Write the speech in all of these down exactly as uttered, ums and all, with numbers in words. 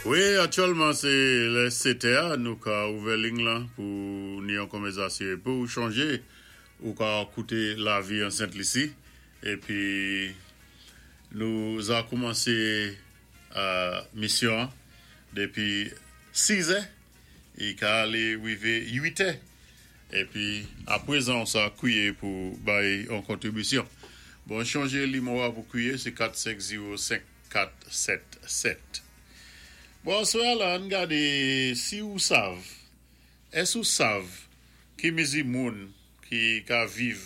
Wi, aktyèlman sé lè sèt è, nou ka ouvè liy lan pou ni yon konvèsasyon pou chanjé ou ka kouté Lavi an Sent Lisi épi nou za koumansé euh, misyon dépi sis è i ka alé wivé uit è épi apwézan sa kwiyé pou bay yon kontribisyon. Bon, chanjé nimewo pou kwiyé, sé kat senk zewo senk kat sèt sèt. Bon, aswè la, ann gadé si ou sav, ès ou sav ki mézi moun ki ka viv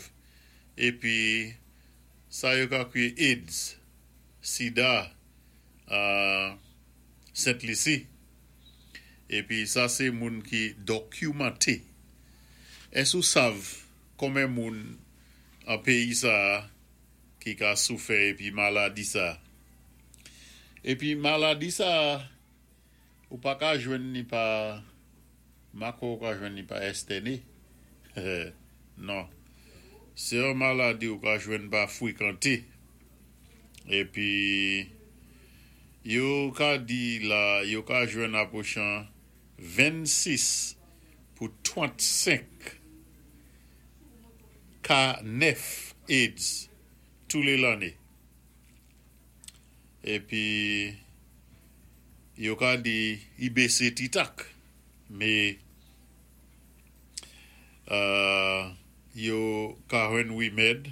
épi sa yo ka kwiyé AIDS, SIDA, euh, Sent Lisi. Épi sa sé moun ki dokimanté. Ès ou sav konbyen moun an péyi sa ki ka soufè épi maladi sa? Épi maladi sa ou pa ka jwenn ni pa mako, ou ka jwenn ni pa estèné. Non. Sé yon maladi ou ka jwenn pa fwikanté. Épi yo ka di la yo ka jwenn apwochan vennsis pou trannsenk ka nèf AIDS tou lé lanné. Épi yo ka di i bésé ti tak, mé euh, yo ka jwenn wimèd,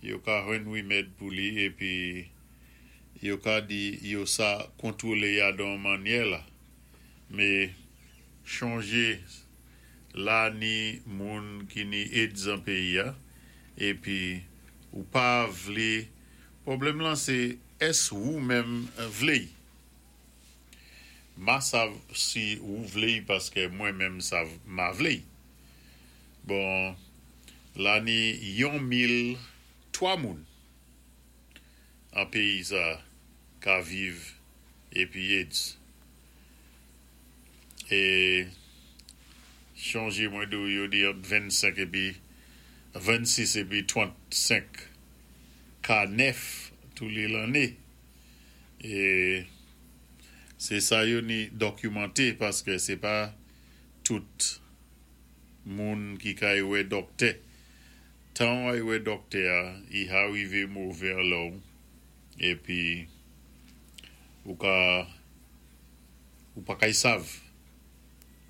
yo ka jwenn wimèd pou li épi yo ka di yo sa kontwolé ya don mannyè la. Mé chanjé la ni moun ki ni AIDS an péyi a, épi ou pa vlé, pwoblèm lan sé ès ou menm vlé. Ma sav si ou vlé paské mwen menm sav ma vlé. Bon, la ni yon mil twa moun an péyi sa ka viv épi AIDS. É chanjé mwen di yo di ant vennsenk épi vennsis épi trannsenk ka nèf tou lé lanné. É sé sa yo ni dokimanté paské sé pa tout moun ki kay wè dòktè. Tan ay wè dòktè a, i a wivé mové alò épi ou ka ou pa kay sav.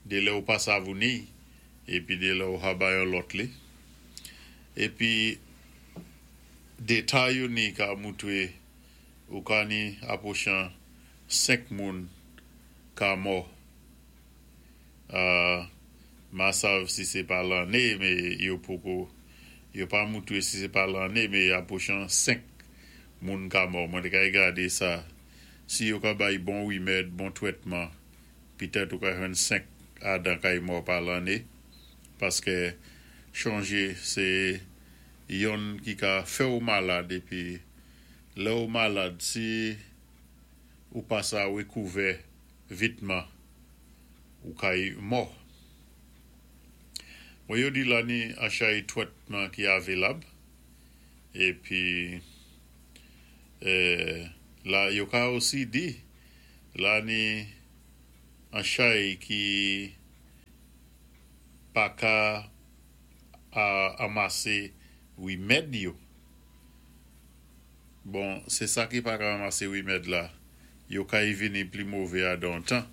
Dé lè ou pa sav ou ni épi dé lè ou ha bay yon lòt li. Épi détay yo ni ka moutwé ou ka ni apwochan senk moun ka mò. Euh, ma sav si sé pa lanné, mé yo poko yo pa moutwé si sé pa lanné, mé apwochan senk moun ka mò. Mwen té kay gadé sa. Si yo ka bay bon wimèd, bon twètman, pitèt ou ka jwenn senk adan kay mò pa lanné paské chanjé sé yonn ki ka fè ou malad épi lè ou malad si ou pa sa wékouvè vitman ou kay mò. Bon, yo di la ni an chay twètman ki avilab épi euh, la yo ka osi di la ni an chay ki pa ka a anmasé wimèd yo. Bon, sé sa ki pa ka anmasé wimèd la, yo kay vini pli mové a don tan.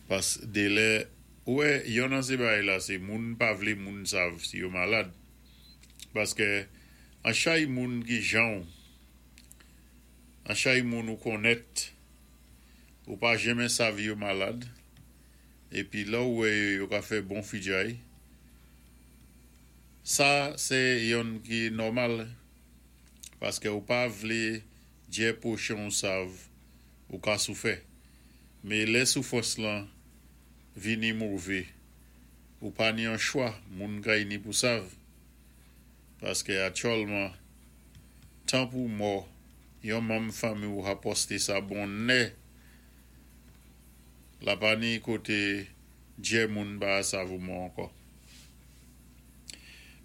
Pas dé lè, wè, yon nan sé bagay la, sé moun pa vlé moun sav si yo malad. Paské an chay moun ki jan ou, an chay moun ou konnèt, ou pa jenmen sav yo malad, épi lè ou wè yo, yo ka fè bon fidjay. Sa, sé yonn ki nòmal, paské ou pa vlé djè pwochan ou sav ou ka soufè. Mé lè soufwans lan vini mové, ou pa ni an chwa, moun kay ni pou sav. Paské aktyèlman, tan pou mò, yon manm fanmi ou ha posté sa bonnè, la pa ni koté djè moun pa sav ou mò ankò.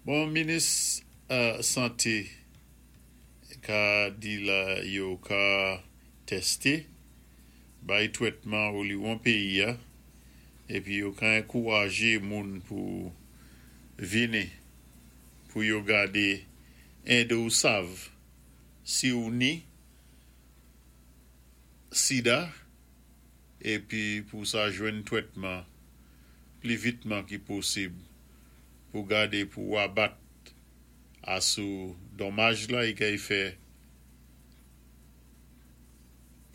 Bon, minis euh, santé ka di la yo ka testé Bay twétman oliwon péyi-a épi yo ka ankouwajé moun pou vini pou yo gadé édé ou sav si ou ni sida épi pou sa jwenn twétman pli vitman ki posib pou gadé pou wabat asou donmaj la i kay fè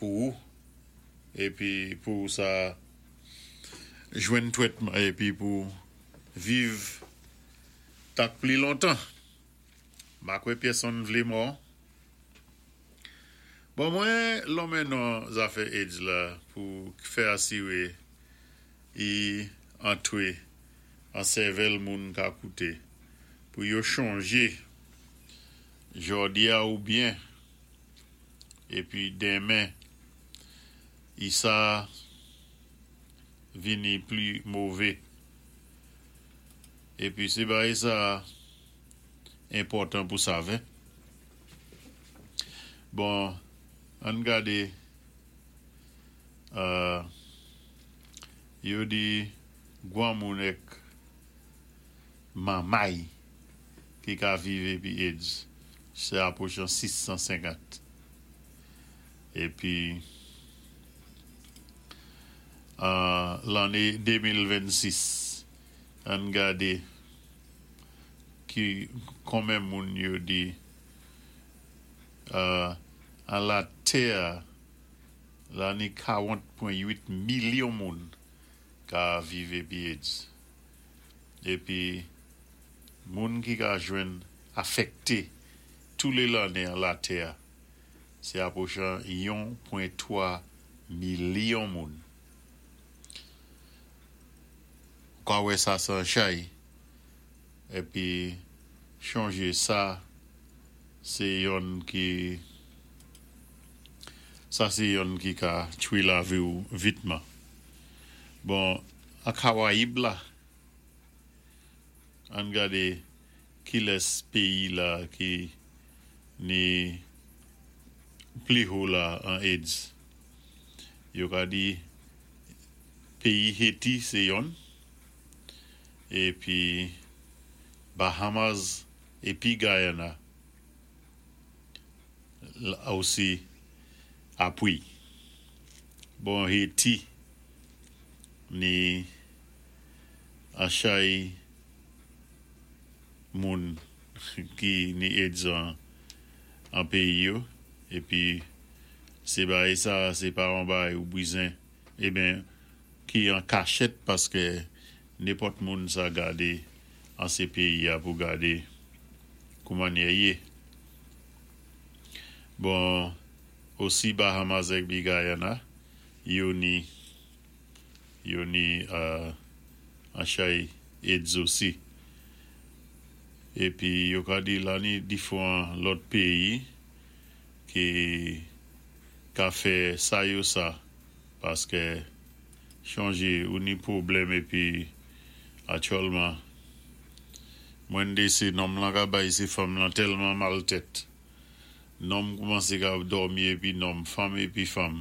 pou ou épi pou sa jwenn twétman épi pou viv tak pli lontan. Ma kwè pèsonn vlé mò. Bon, mwen lonmen non zafè AIDS la pou fè asiwé i antwé an sèvèl moun ka kouté pou yo chonjé jòdi-a ou byen épi denmen i sa vini pli mové. Épi sé bagay sa enpòtan pou sav. Bon, ann gadé euh, yo di gwanmoun èk manmay ki ka viv épi AIDS sé apwochan sis san senkant. Épi euh, lanné de mil vennsis, ann gadé ki konmen moun yo di euh, an latè la ni karant pwen uit milyon moun ka viv épi AIDS. Épi moun ki ka jwenn afèkté tou lé lanné an latè, sé apwochan youn pwen twa milyon moun. Ou ka wè sa san chay. Épi chonjé sa sé yonn ki sa sé yonn ki ka tchwé lavi ou vitman. Bon, an Karayib la, ann gadé kilès péyi la ki ni pli wo la an AIDS. Yo ka di péyi Haiti sé yonn épi Bahamas épi Guyana osi apwi. Bon, Haiti ni an chay moun ki ni AIDS an, an péyi yo épi sé bagay sa sé pa an bagay ou bizwen eben ki an kachèt paské nenpòt moun sa gadé an sé péyi-a pou gadé kouman yé. Bon, osi Bahamas épi Guyana, yo ni yo ni euh, an chay AIDS osi. Épi yo ka di la ni diféwan lòt péyi ki ka fè sa yo sa paské chonjé ou ni pwoblèm épi aktyèlman mwen dé sé nonm lan ka bay sé fanm lan tèlman mal tèt. Nonm koumansé ka dòmi épi nonm, fanm épi fanm.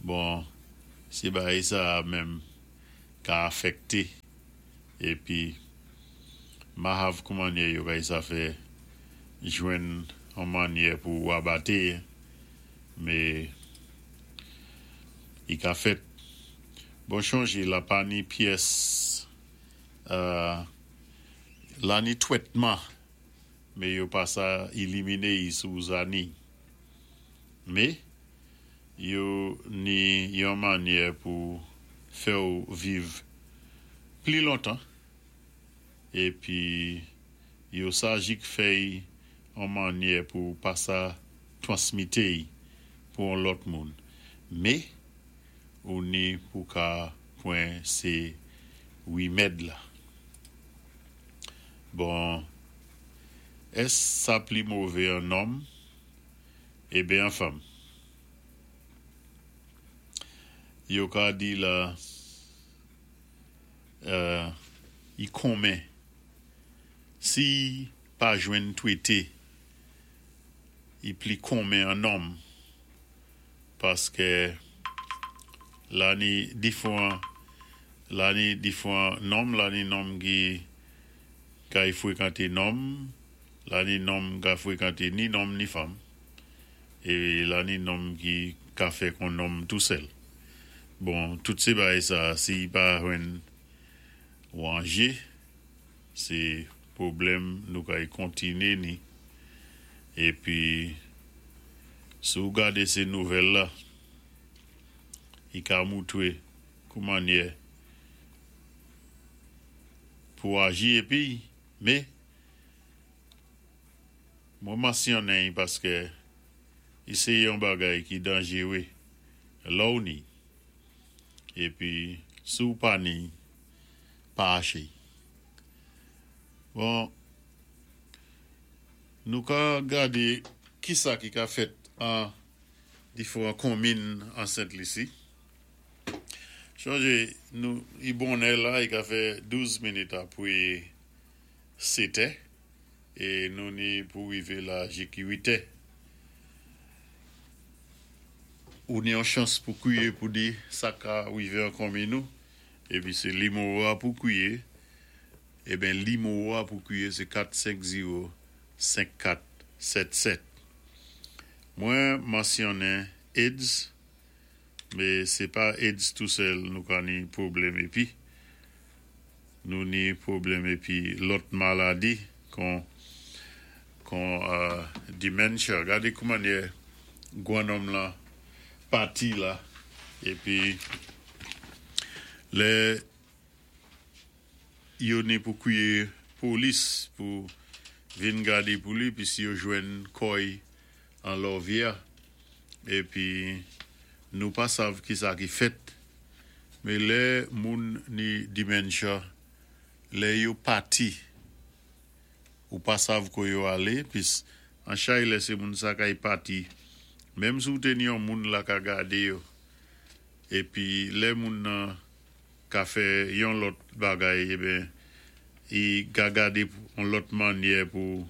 Bon, sé bagay sa menm ka afèkté épi mahav kouman yo kay sa fè jwenn an mannyè pou abaté mé i ka fèt. Bon, chonjé la pa ni pyès euh, la ni twétman mé yo pa sa éliminé i sou zani. Mé yo ni yon mannyè pou fè ou viv pli lontan épi yo sa jik fè an mannyè pou pa sa twansmité pou an lòt moun. Mé ou ni pou ka pwan sé wimèd la. Bon, ès sa pli mové an nonm eben an fanm? Yo ka di la euh, i konmen si pa jwenn twété i pli konmen an nonm paské La ni diféwan la ni diféwan nonm, la ni nonm ki kay fwékanté nonm, la ni nonm ka fwékanté ni nonm ni fanm é la ni nonm ki ka fè kon nonm tou sèl. Bon, tout sé bagay sa si pa jwenn wanjé, sé pwoblèm nou kay kontiné ni. Épi si ou gadé sé nouvèl la, i ka moutwé kou mannyè pou aji épi mé mwen mansyonnen paské i sé yon bagay ki danjéwé lè ou ni. Épi si ou pa ni, pa aché. Bon, nou ka gadé ki sa ki ka fèt an diféwan konminn an Sent Lisi. Chonjé nou i bonnè la, i ka fè douz minit apwé sétè é nou ni pou wivé la jik uitè. Ou ni yon chans pou kwiyé pou di sa ka wivé an konminn nou épi sé nimewo a pou kwiyé. Eben nimewo a pou kwiyé sé kat senk zewo senk kat sèt sèt. Mwen mansyonnen AIDS, mé sé pa AIDS tou sèl nou ka ni pwoblèm épi. Nou ni pwoblèm épi lòt maladi kon kon euh, dementia. Gadé kou mannyè gwan nonm la pati la épi lè yo ni pou kwiyé polis pou vin gadé pou li pi si yo jwenn kò-y an lòvyè épi nou pa sav ki sa ki fèt, mé lè moun ni dementia, lè yo pati ou pa sav ko yo alé pis an chay lè sé moun sa kay pati menm si ou té ni yon moun la ka gadé yo épi lè moun nan ka fè yon lòt bagay eben i ka gadé yon lòt mannyè pou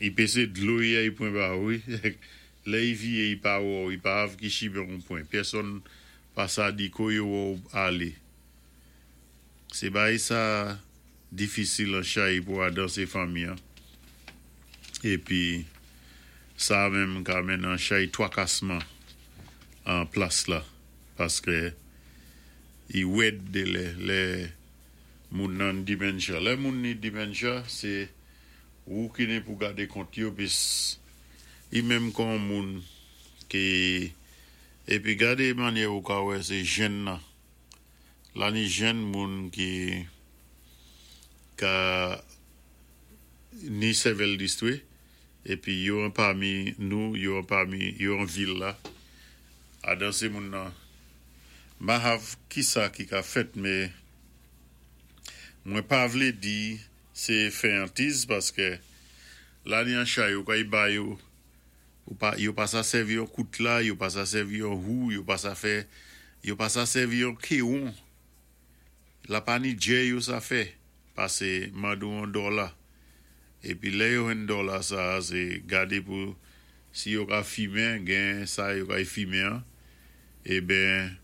i pésé dlo i ay pwan ba ou lè i viyé i pa wè ou, i pa hav ki chimen ou pwan, pèsonn pa sa di ko yo wè ou alé. Sé bagay sa difisil an chay pou adan sé fanmi an. Épi sa menm ka mennen an chay twakasman an plas la paské i wèd dé lè lè moun nan dementia. Lè moun ni dementia, sé ou ki ni pou gadé kont yo pis i menm kon moun ki épi gadé mannyè ou ka wè sé jèn nan. La ni jèn moun ki ka ni sèvèl distwé épi yo an pami nou, yo an pami yo an vil la. Adan sé moun nan ma hav ki sa ki ka fèt mé mwen pa vlé di sé fenyantiz paské la ni an chay yo kay ba yo ou pa yo pa sa sèvi yon koutla, yo pa sa sèvi yon hou, yo pa sa fè yo pa sa sèvi yon kéwon. La pa ni djè yo sa fè pasé mande ou yon dola. Épi lè yo jwenn dola sa sé gadé pou si yo ka fimen, gen sa yo kay fimen an, eben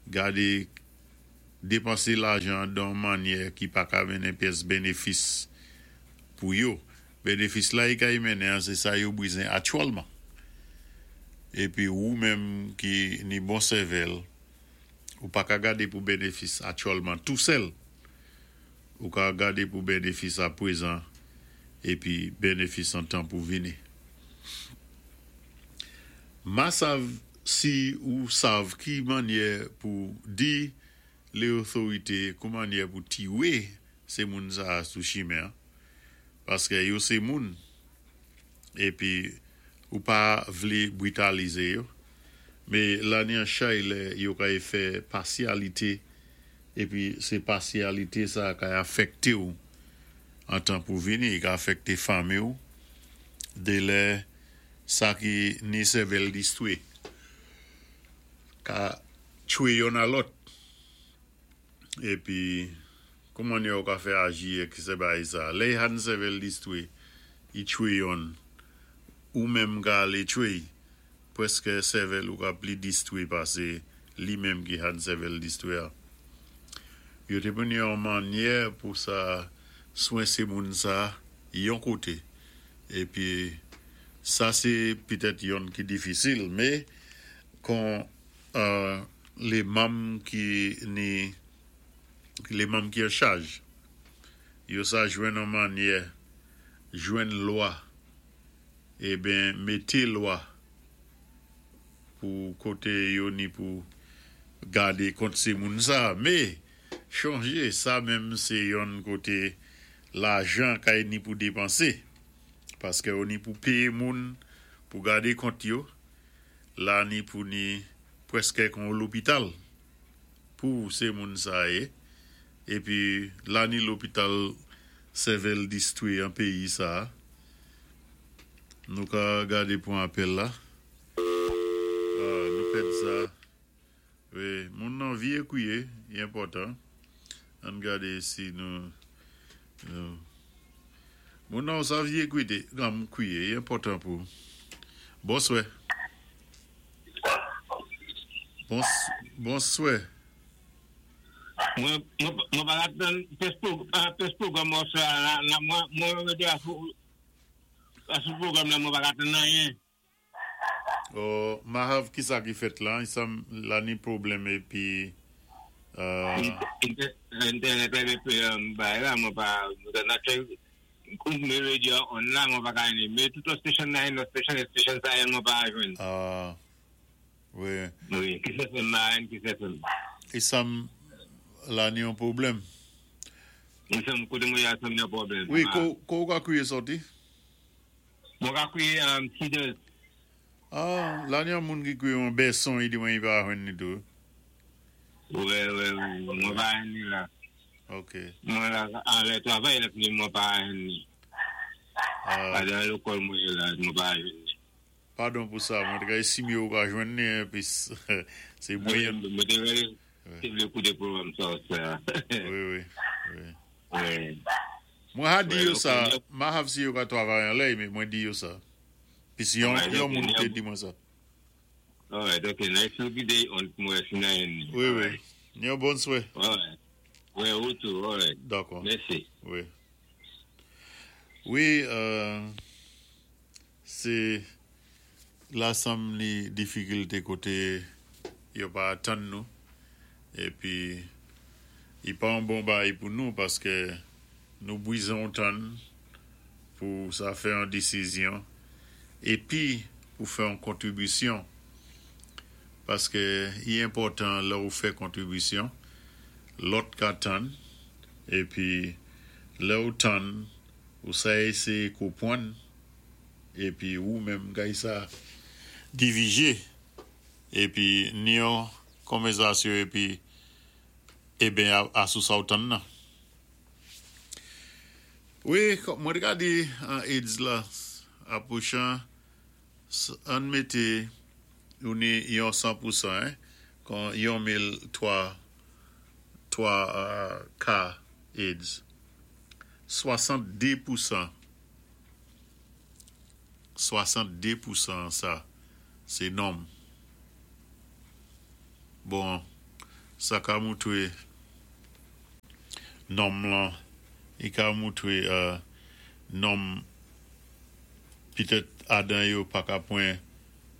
gadé dépansé lajan dan mannyè ki pa ka mennen pyès bénéfis pou yo. Bénéfis la i kay mennen an, sé sa yo bizwen aktyèlman. Épi ou menm ki ni bon sèvèl, ou pa ka gadé pou bénéfis aktyèlman tou sèl. Ou ka gadé pou bénéfis a pwézan épi bénéfis an tan pou vini. Ma sav si ou sav ki mannyè pou di lé otorité kou mannyè pou tiwé sé moun sa sou chimen paské yo sé moun épi ou pa vlé britalizé yo. Mé la ni an chay lè yo kay fè pasyalité épi sé pasyalité sa kay afèkté ou an tan pou vini, i ka afèkté fanmi ou dé lè sa ki ni sèvèl distwé ka tchwé youn a lòt. Épi kou mannyè ou ka fè aji ki sé bagay sa. Lè i han sèvèl distwé, i tchwé youn ou menm ka alé tchwé, pwèské sèvèl ou ka pli distwé pasé Li menm ki han sèvèl distwi. Yo té pwan yon manyè pou sa swen sé moun sa yon koté. Épi sa sé pitèt yonn ki difisil, mé kon euh, lé manm ki ni lé manm ki an chaj, yo sa jwenn yon manyè, jwenn lwa, eben mété lwa pou koté yo ni pou gadé kont sé moun sa, mé chonjé sa menm sé yon koté lajan kay ni pou dépansé paské yo ni pou péyé moun pou gadé kont yo la ni pou ni pwèské kon lopital pou sé moun sa yé épi la ni lopital sèvèl distwi an péyi sa nou ka gadé pou apèl la ah, nou pèd sa wi moun nan vyé kwié i enpòtan ann gadé si nou nou moun nan sa vyé kwité gam kwié i enpòtan pou bonswè Bons, bonswè Mwen, mwen, mwen pa tann pès pwogram sa la, la, mwen, mwen rété asou, asou pwogram la, mwen pa tann anyen. Oh, mahav ki sa ki fèt la, i sam la ni pwoblèm épi euh, Entènèt la épi ba la, mwen pa, mwen nan fè, mwen radyo on la, mwen pa ka ni, mé tout station nan, no station, station sa mwen pa jwenn. Ah, wi. Wi, ki se fè man, ki se fè. I sam la ni yon pwoblèm. I sam koté mwen ya sam ni yon pwoblèm. Wi, ko ko ou ka kwié sòti? Mwen ka kwié um, Cedars. Ah, la ni yon moun ki kwié yon beson, i di mwen i pa jwenn ni tou. Wi, wi, mwen pa jwenn ni la. Ok. Mwen la, an lè travay la, pi mwen pa jwenn ni. Ah, Pa dan lekòl mwen la, mwen pa jwenn ni. Padon pou sa, mwen te ka estime ou ka jwenn ni, épi sé mwen. Mwen te wè, te vlé kouté pwogram sa, sa. Wi, wi, wi. Wi. Mwen ha di Wi, yo sa, ok. ma hav si yo ka travay an lè, mé mwen di yo sa. Pi si yon, Ouais, yon ok, moun te yon- di mwen sa. Alright, ok, nice to be on mwen si nan yon ni. Wi, wi. Yon bonswè. Alright. Wi, ou tou, alright. Dakò. Mèsi. Wi. Wi, euh, sé la sam ni difikilté koté yo pa atann nou épi i pa yon bon bagay pou nou paské nou bizwen tann pou sa fè yon désizyon épi pou fè yon kontribisyon paské i enpòtan lè ou fè kontribisyon lòt ka tann épi lè ou tann ou sa éséyé konpwann épi ou menm kay sa diwijé épi ni yon konvèsasyon épi eben a, asou sa ou tann nan. Wi, kon- mwen te ka di an AIDS la apwochan an mété ou ni yon san pou san hein, kon yon mil twa twa euh, ka AIDS. swasanndé pou san swasanndé pou san sa sé nonm. Bon, sa ka moutwé nonm lan, i ka moutwé euh, nonm pitèt adan yo pa ka pwan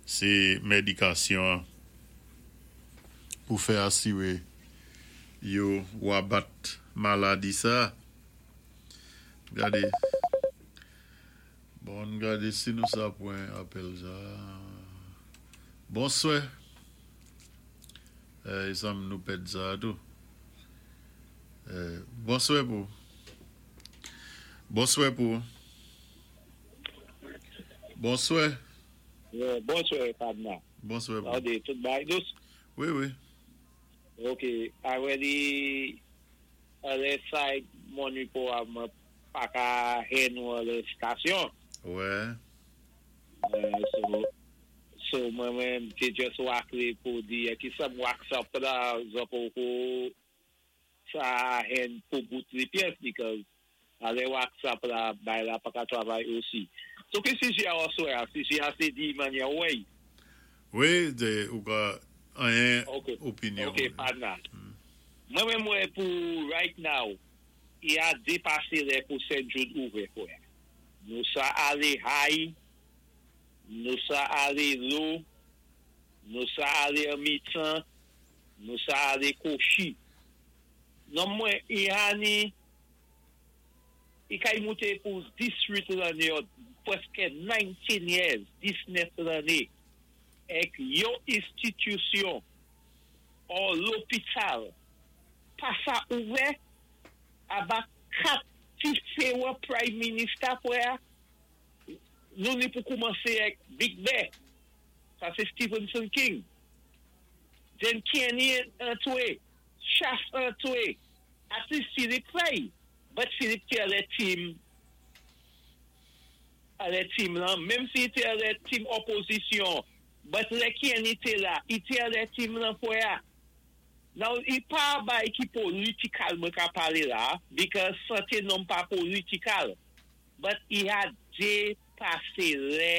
sé médikasyon pou fè asiwé yo wabat maladi sa. Gadé. Bon, gadé si nou sa pwan apèl sa. Bonswè. Euh, sa nou pèd sa tou. Euh, bonswè pou. Bonswè pou. Bonswè. Yeah, bonswè, Padna. Bonswè pou. Ade, tout bagay dous? Wi, wi. Ok, already, ale side Mon Repos a mwen pa ka he nou ale stasyon. Wè. Uh, so, so mwen mwen te just wakle pou di ki sa m wax up la zo pou pou sa hen pou bout li pyès because ale wax up la bay la pa ka travay osi. So ki si si a oswe a, si si a se di manye wey. Wi, de, ou ka An Ok. opinyon. Ok, partner. Mwen mwen mwen pou right now, i a dépasé lè pou Saint Jude ouvè fwè. Nou sa alé high, nou sa alé low, nou sa alé an mitan, nou sa alé kochi. Non mwen, i a ni, i kay mouté pou dizuit lanné, ou pwèské nineteen years, diznèf lanné, èk yon institisyon ou lopital pa sa ouvè aba kat diferan prime minister fwè, nou ni pou koumansé èk Big Bear, sa sé Stevenson King, then Kenny antwé, Chas antwé, at least Philip fay, but Philip té alè team, alè team lan, menm si té alè team opozisyon, but lè Kenny té la, i té alè team lan fwè a. Now, i pa bay ki political mwen ka palé la, because santé non pa political, but i a dépasé lè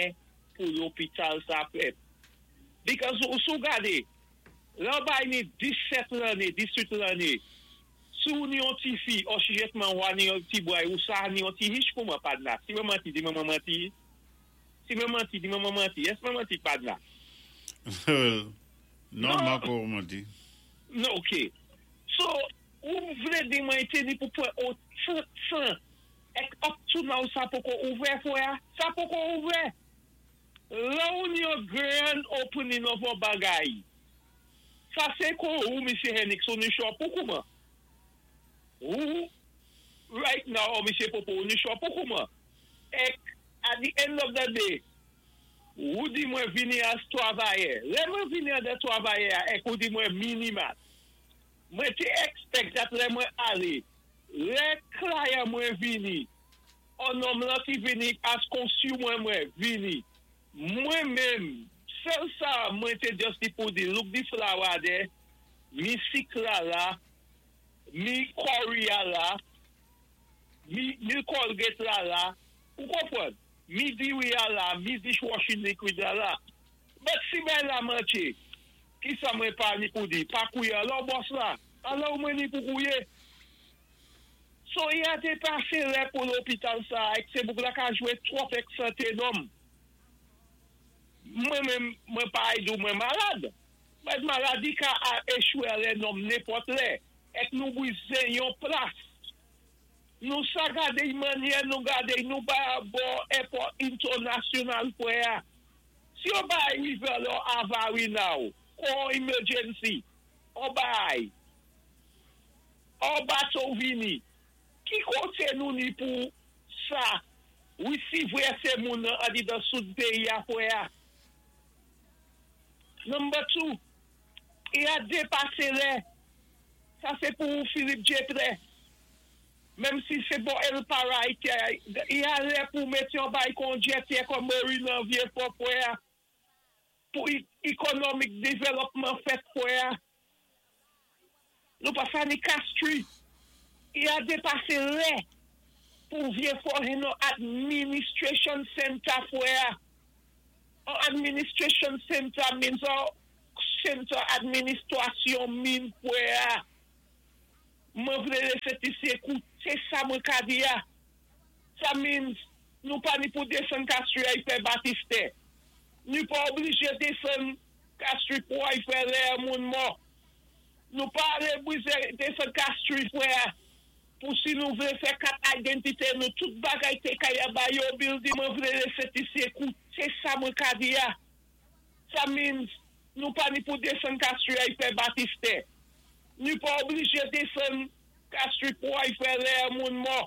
pou lopital sa fèt. Because ou sou gade, lè bay ni disèt lanné, dizuit lanné, sou ni yon ti fi, ou sijetman wà ni yon ti boy, ou sa ni yon ti hich pou mwen padna. Si mwen manti, di mwen mwen manti. Si mwen manti, di mwen mwen manti. Ès mwen manti padna? Non, Non. ma pou manti. Non, ok. So, ou vlé di mwen té ni pou pwan ou tan tan, èk up to now sa poko ouvè fwè, sa poko ouvè. Lè ou ni yon grand opening of a bagay, sa sé kon ou, Misye Henrik, ou ni chwa pou kouman? Ou, right now, Misye Popo, ou ni chwa pou kouman? Èk, at the end of the day, ou di mwen vini as twavayè. Lè mwen vini an de twavayè, èk ou di mwen minimal. Mwen té expect that lè mwen alé, lè client mwen vini, an nonm lan ki vini as consumer mwen vini, mwen menm, sèl sa mwen té just di pou di, look di flour there, mi sik la la, mi curry a la, mi, mi Colgate la la, ou konpwann? Mi diwi a la, mi dishwashing liquid a la. But si ben la manché, ki sa mwen pa ni pou di? Pa kouye alò boss la, alò mwen ni pou kouye. So i a dépasé lè pou lopital sa, èk sé bouk la ka jwé twòp èk santé nonm. Mwen mwen, mwen pa ay dou mwen malad. Mwen maladi ka a échoué lè nonm nenpòt lè. Èk nou bwizé yon plas. Nou sa gade y manyè nou gade nou ba bo airport international fwè a. Si yo bay river lò avari now, kon emergency, ou bay, ou bato vini, ki koté nou ni pou sa, ou si vwè sé moun nan adi dan soud peyi a fwè a. Number two, i a dépasé lè, sa sé pou Philip Jetre. Menm si sé bon El Para, i a lè pou mèt yon bay kon jetty kon marina Vieux-Fort fwè a. Pou economic development fèt fwè a. Nou pa sa ni Castries. I a dépasé lè pou Vieux-Fort yon administration center fwè a. An administration center means an center administration min fwè a. Mwen vle lè ti ékouté sa mwen ka di ya. Sa means nou pa ni pou desann Castries ay fè batistè. Nou pa oblijé desann Castries pou ay fè lè moun mò. Nou pa ale bwize desann Castries fwè a. Pou si nou vle fè kat idantité nou tout bagay té kaya ba yo building. Mwen vle lè ti ékouté sa mwen ka di ya. Sa means nou pa ni pou desann Castries ay fè batistè. Nou pa oblijé desann Castries pou ay fè lè moun mò.